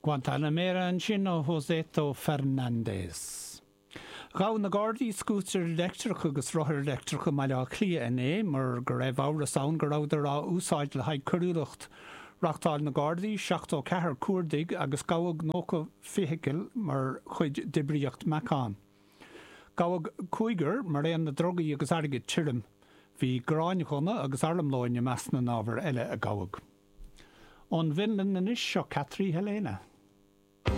Guantanamera ansin ó Joseto Fernandez. Ghabh na Gardaí scútair leictreacha agus rothair leictreacha i mBaile Átha Cliath inné mar go raibh amhras ann go rabhadar á úsáid le haghaidh coiriúlacht. Reáchtáil na Gardaí 74 cuardaigh agus gabhadh 90 feithicil mar chuid d'oibríocht Meacán. Gabhadh cúigear mar aon le drugaí agus airgead tirim. Bhí gráinghunna agus armlóin i measc na n-ábhar eile a gabhadh. Ón bhFionlainn anois, seo Katri Helena.